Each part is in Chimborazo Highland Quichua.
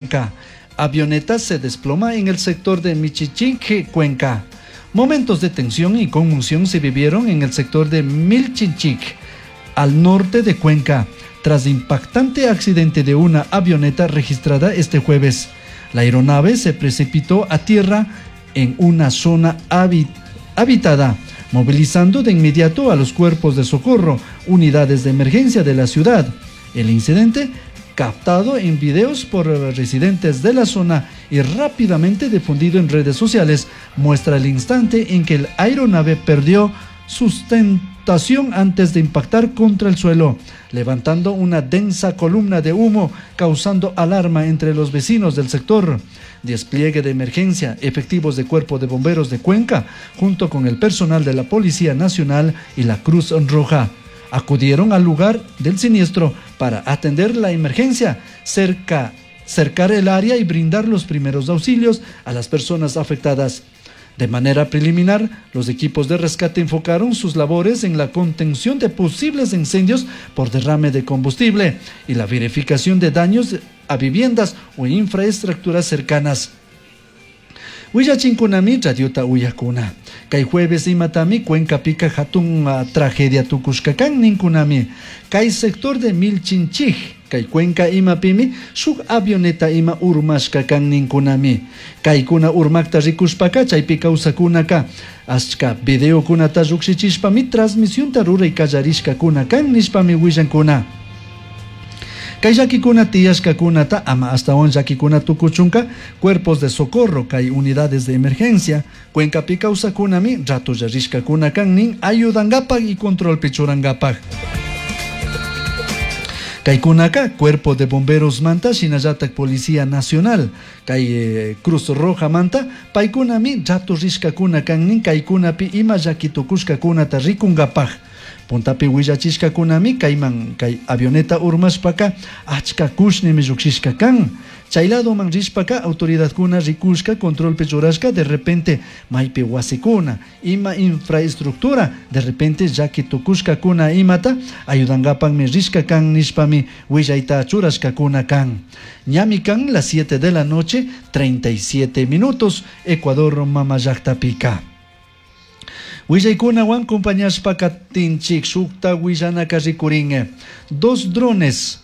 Cuenca. Avioneta se desploma en el sector de Michichinque, Cuenca. Momentos de tensión y conmoción se vivieron en el sector de Milchinchic, al norte de Cuenca, tras impactante accidente de una avioneta registrada este jueves. La aeronave se precipitó a tierra en una zona habitada, movilizando de inmediato a los cuerpos de socorro, unidades de emergencia de la ciudad. El incidente, captado en videos por residentes de la zona y rápidamente difundido en redes sociales, muestra el instante en que el aeronave perdió sustentación antes de impactar contra el suelo, levantando una densa columna de humo, causando alarma entre los vecinos del sector. Despliegue de emergencia, efectivos de Cuerpo de Bomberos de Cuenca, junto con el personal de la Policía Nacional y la Cruz Roja, acudieron al lugar del siniestro para atender la emergencia, cercar el área y brindar los primeros auxilios a las personas afectadas. De manera preliminar, los equipos de rescate enfocaron sus labores en la contención de posibles incendios por derrame de combustible y la verificación de daños a viviendas o infraestructuras cercanas. Willachinkunami radiota uyakuna. Kay jueves imatami Cuenca pica hatun tragedia tukushkakan ninkunami. Kay sector de Milchinchij, kay Cuenca imapimi shuk avioneta ima urmashkakan ninkunami. Kaykuna urmakta rikushpaka chaypi kawsakunaka achka videokunata llukshichishpami transmisionta ruray kallarishkakuna kan nishpami willankuna. Kay llakikuna tiyashkakunata ama astawan llakikuna tukuchunka cuerpos de socorro kay unidades de emergencia Cuencapi kawsakunami ratolla rishkakuna kan nin ayudangapak y controlpi churangapak. Kaykunaka Cuerpo de Bomberos manta shinallatak Policía Nacional kay Cruz Roja manta paykunami rato rishkakuna kan nin kaykunapi ima llaki tukushkakunata rikungapak. Puntapi willachishkakunami kayman kay avioneta urmashpaka achka kushnimi llukshishka kan. Chay ladoman rishpaka autoridadkuna rikushka controlpi churashka de repente maypi wasikuna ima infraestructura de repente llaki tukushkakuna imata ayudankapakmi rishka kan nishpami willayta churashkakuna kan. Ñami kan las 7 de la noche 37 minutos Ecuador mama llaktapika. Willaykunawan compañashpaka tinchik shukta willanaka rikurin. Dos drones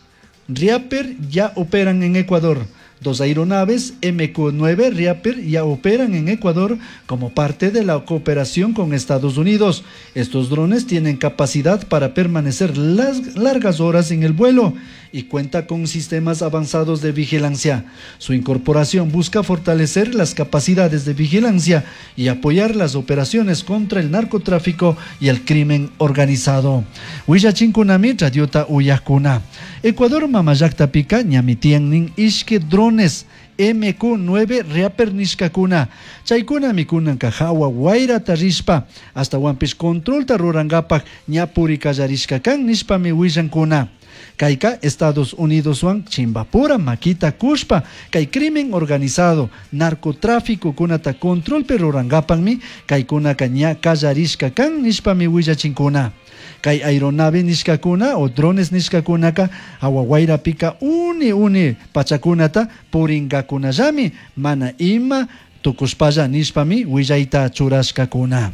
Reaper ya operan en Ecuador. Dos aeronaves MQ-9 Reaper ya operan en Ecuador como parte de la cooperación con Estados Unidos. Estos drones tienen capacidad para permanecer largas horas en el vuelo y cuenta con sistemas avanzados de vigilancia. Su incorporación busca fortalecer las capacidades de vigilancia y apoyar las operaciones contra el narcotráfico y el crimen organizado. Willachinkunami radiota uyakuna. Ecuador mamallakta pika ñami tiyan nin ishki drones MQ-9 Reaper nishkakuna. Chaykunami kunanka hawa wayrata rishpa ashtawanpish controlta rurankapak ña puri kallarishka kan nishpami willankuna. Kayka Estados Unidoswan chimbapura makita kushpa kay crimen organizado narcotráfico kunata controlpi rurankapakmi kaykunaka ña kallarishka kan nishpami willachinkuna. Kay aeronave nishkakuna o drones nishkakunaka hawa wayrapika uni uni pachakunata purinkakunallami mana ima tukushpalla nishpami willayta churashkakuna.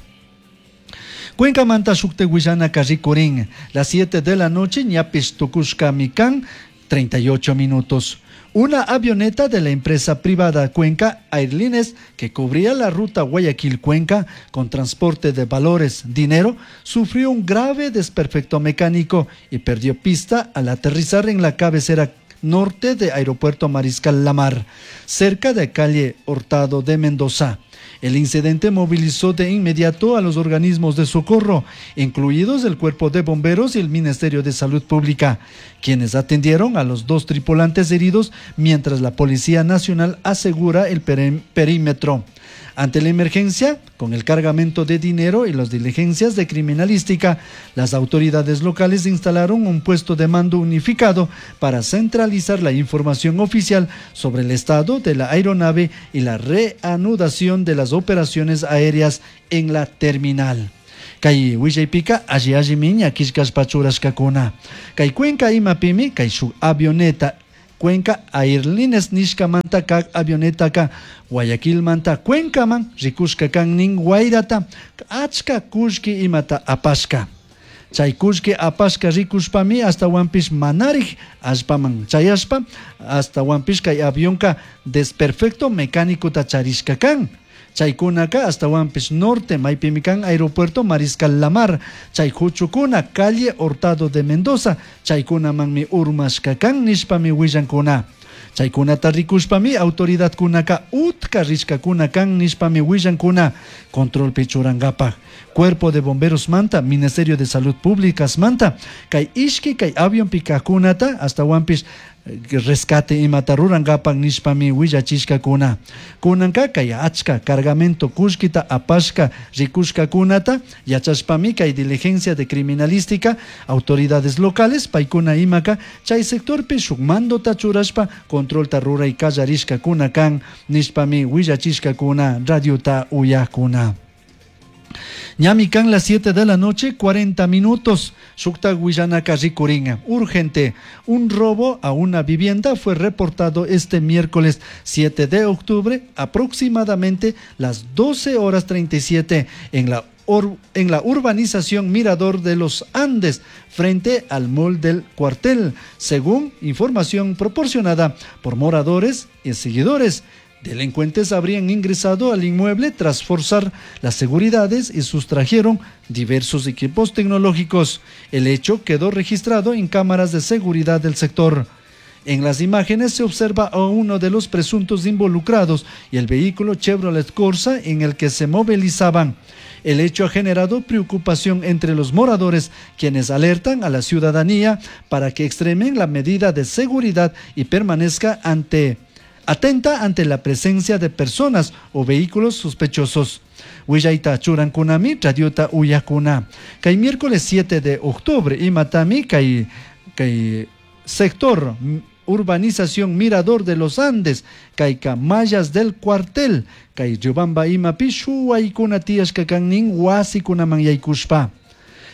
Cuencamanta shukte willanaka rikurin las 7 de la noche ñapish tukushkami kan 38 minutos. Una avioneta de la empresa privada Cuenca Airlines que cubría la ruta Guayaquil-Cuenca con transporte de valores, dinero, sufrió un grave desperfecto mecánico y perdió pista al aterrizar en la cabecera norte de Aeropuerto Mariscal Lamar, cerca de calle Hurtado de Mendoza. El incidente movilizó de inmediato a los organismos de socorro, incluidos el Cuerpo de Bomberos y el Ministerio de Salud Pública, quienes atendieron a los dos tripulantes heridos mientras la Policía Nacional asegura el perímetro. Ante la emergencia, con el cargamento de dinero y las diligencias de criminalística, las autoridades locales instalaron un puesto de mando unificado para centralizar la información oficial sobre el estado de la aeronave y la reanudación de las operaciones aéreas en la terminal. Kay willaypika alli allimi ña killkashpa churashkakuna. Kay Cuenca imapimi kay shuk avioneta Cuenca Airlines nishkamanta kak avionetaka Guayaquilmanta Cuencaman rikushka kan nin wayrata achka kullki imata apashka. Chay kullki apashka rikushpami ashtawanpish manarik allpaman chayashpa ashtawanpish kay avionka desperfecto mecanicota charishka kan. Chaykunaka ashtawanpish norte maypimi kan aeropuerto Mariscal Lamar chay huchukuna calle Hurtado de Mendoza chaykunamanmi urmashka kan nishpami willankuna. Chaykunata rikushpami autoridadkunaka utka rishkakuna kan nishpami willankuna controlpi churankapak. Cuerpo de Bomberos manta, Ministerio de Salud Pública manta, kay ishki kay avionpi kajkunata ashtawanpish rescate imata rurankapak nishpami willachishkakuna. Kunanka kay achka cargamento kullkita apashka rikushkakunata yachashpami kay diligencia de criminalística autoridades locales paykuna imaka chay sectorpi shuk mandota churashpa controlta ruray kallarishkakuna kan nishpami willachishkakuna radiota uyakuna. Ñami kan las 7 de la noche, 40 minutos. Shukta willanaka rikurin. Urgente. Un robo a una vivienda fue reportado este miércoles 7 de octubre, aproximadamente las 12 horas 37 en la urbanización Mirador de los Andes, frente al mall del cuartel, según información proporcionada por moradores y seguidores. Delincuentes habrían ingresado al inmueble tras forzar las seguridades y sustrajeron diversos equipos tecnológicos. El hecho quedó registrado en cámaras de seguridad del sector. En las imágenes se observa a uno de los presuntos involucrados y el vehículo Chevrolet Corsa en el que se movilizaban. El hecho ha generado preocupación entre los moradores, quienes alertan a la ciudadanía para que extremen la medida de seguridad y permanezca atenta ante la presencia de personas o vehículos sospechosos. Willayta churankunami, radiota uyakuna. Kay miércoles 7 de octubre, imatami, kay sector urbanización Mirador de los Andes, kayka Mayas del Cuartel, kay Riobamba imapi shuwaykuna tiyashka kan nin wasikunaman yaykushpa.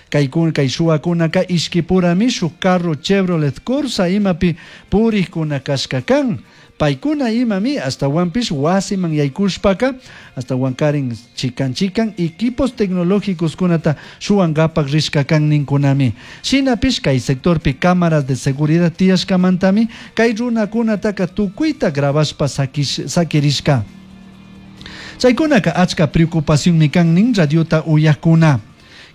Kay shuwakunaka ishkipurami shuk carro Chevrolet Corsa imapi purikuna kashka kan. Paykuna imami ashtawanpish wasiman yaykushpaka ashtawankarin chikan chikan equipos tecnológicos kunata shuwankapak rishka kan ninkunami. Shinapish kay sectorpi cámaras de seguridad tiyashkamantami kay runakunataka tukuyta grabashpa sakirishka. Chaykunaka achka preocupacionmi kan nin radiota uyakuna.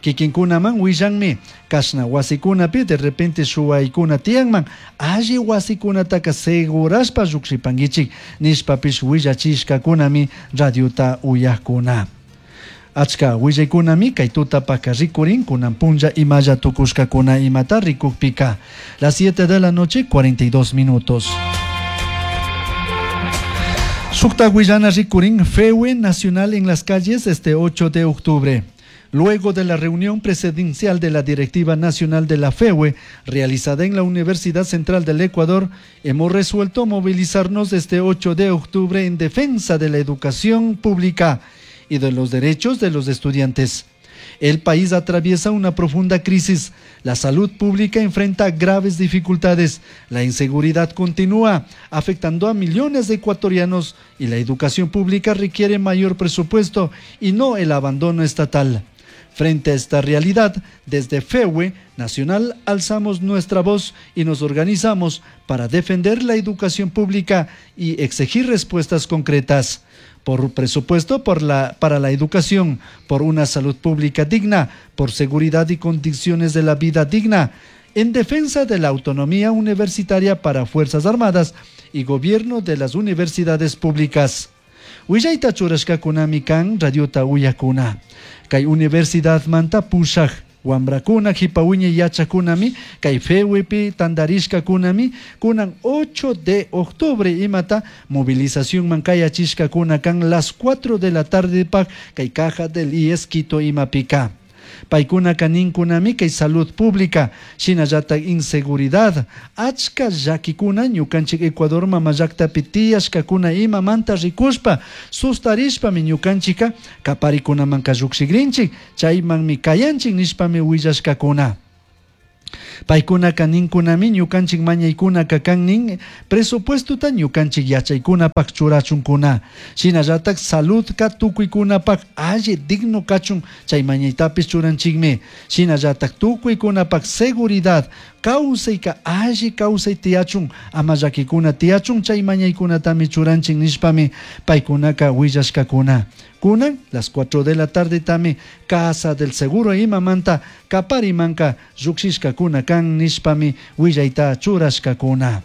Kikinkunaman willanmi kashna wasikunapi de repente shuwaykuna tiyanman alli wasikunataka segurashpa llukshipankichik nishpapish willachishkakunami radiota uyakuna. Achka willaykunami kay tutapaka rikurin kunan punlla imalla tukushkakuna imata rikukpika. Las 7 de la noche 42 minutos. Shukta willana rikurin FEUE Nacional en las calles este 8 de octubre. Luego de la reunión presidencial de la Directiva Nacional de la FEUE, realizada en la Universidad Central del Ecuador, hemos resuelto movilizarnos este 8 de octubre en defensa de la educación pública y de los derechos de los estudiantes. El país atraviesa una profunda crisis, la salud pública enfrenta graves dificultades, la inseguridad continúa afectando a millones de ecuatorianos y la educación pública requiere mayor presupuesto y no el abandono estatal. Frente a esta realidad, desde FEUE Nacional alzamos nuestra voz y nos organizamos para defender la educación pública y exigir respuestas concretas. Por presupuesto para la educación, por una salud pública digna, por seguridad y condiciones de la vida digna, en defensa de la autonomía universitaria para Fuerzas Armadas y gobierno de las universidades públicas. Willayta churashkakunami kan radiota uyakuna. Kay universidad manta pushaj wambrakuna jipawiña yachakunami kay FEUEpi tandarishkakunami kunan 8 de octubre imata movilización man kayachishkakuna kan las 4 de la tarde pa kay caja del IES Quito imapika. Paykunaka ninkunami kay salud pública shinallata inseguridad achka llakikuna ñukanchik Ecuador mama llaktapi tiyashkakuna imamanta rikushpa sustarishpami ñukanchika kaparikunamanka llukshikrinchik chaymanmi kayanchik nishpami willashkakuna. Paykunaka ninkunami ñukanchik mañaykunaka kan nin presupuestota ñukanchik yachaykunapak churachunkuna. Shinallatak saludka tukuykunapak alli digno kachun chay mañaytapish churanchikmi. Shinallatak tukuykunapak seguridad kawsayka alli kawsay tiyachun ama llakikuna tiyachun chay mañaykunatami churanchik nishpami paykunaka willashkakuna. Kunan las 4 de la tarde tami Casa del Seguro imamanta kaparimanka llukshishkakuna kan nishpami willayta churashkakuna.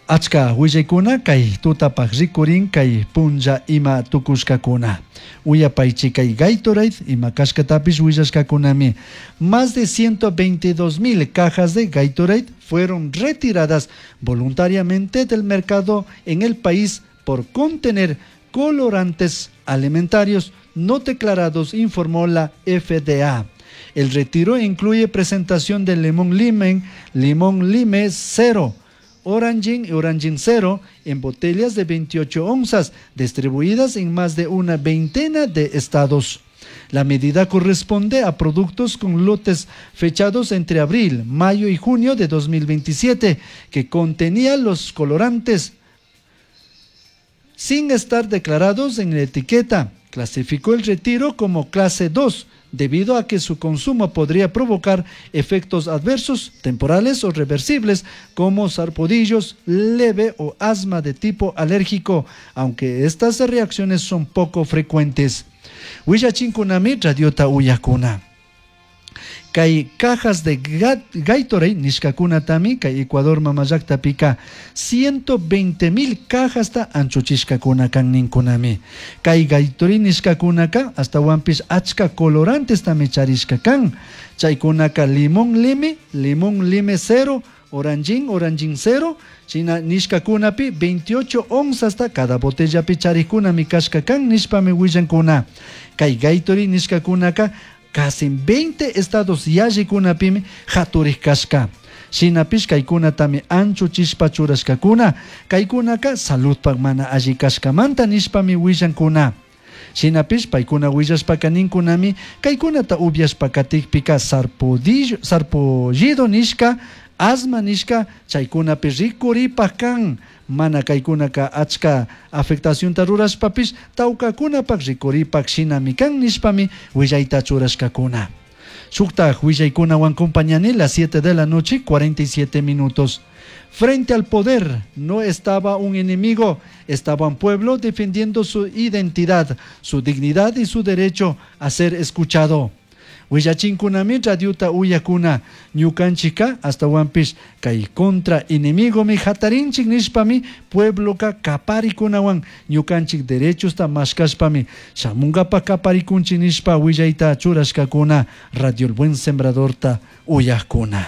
Achka willaykuna kay tutapak rikurin kay punlla ima tukushkakuna. Uyapaychi kay Gatorade ima kashkatapish willashkakunami. Más de 122.000 cajas de Gatorade fueron retiradas voluntariamente del mercado en el país por contener colorantes alimentarios no declarados, informó la FDA. El retiro incluye presentación de limón lime, limón lime cero, orangin y orangin cero en botellas de 28 onzas distribuidas en más de una veintena de estados. La medida corresponde a productos con lotes fechados entre abril, mayo y junio de 2027 que contenían los colorantes sin estar declarados en la etiqueta. Clasificó el retiro como clase 2 debido a que su consumo podría provocar efectos adversos temporales o reversibles como sarpullidos leve o asma de tipo alérgico, aunque estas reacciones son poco frecuentes. Willachinkunami radiota uyakuna. Kay cajas de Gatorade nishkakunatami kay Ecuador mamallaktapika 120.000 cajasta anchuchishkakuna kan ninkunami. Kay Gatorade nishkakunaka astawanpish achka colorantestami charishka kan. Chaykunaka limón lime, limón lime cero, orangin, orangin cero, china nishkakunapi 28 onzasta cada botellapi charikkunami kashka kan nishpami willankuna. Kay Gatorade nishkakunaka casi 20 estados yallikunapimi haturik kashka. Shinapish kaykunatami anchuchishpa churashkakuna. Kaykunaka saludpak mana alli kashkamanta nishpami willankuna. Shinapish paykuna willashpaka ninkunami kaykunata upyashpa katikpika sarpullido nishka, asma nishka chaykunapi rikuripak kan. Mana kaykunaka achka afectacionta rurashpapish tawkakunapak rikuripak shinami kan nishpami willayta churashkakuna. Shuktaj willaykunawan compañani las 7 de la noche 47 minutos. Frente al poder no estaba un enemigo, estaba un pueblo defendiendo su identidad, su dignidad y su derecho a ser escuchado. Willachinkunami radiota uyakuna ñukanchika astawanpish kay contra enemigomi hatarinchik nishpami puebloka kaparikunawan ñukanchik derechosta mashkashpami shamunkapak kaparikunchik nishpa willayta churashkakuna Radio El Buen Sembradorta uyakuna.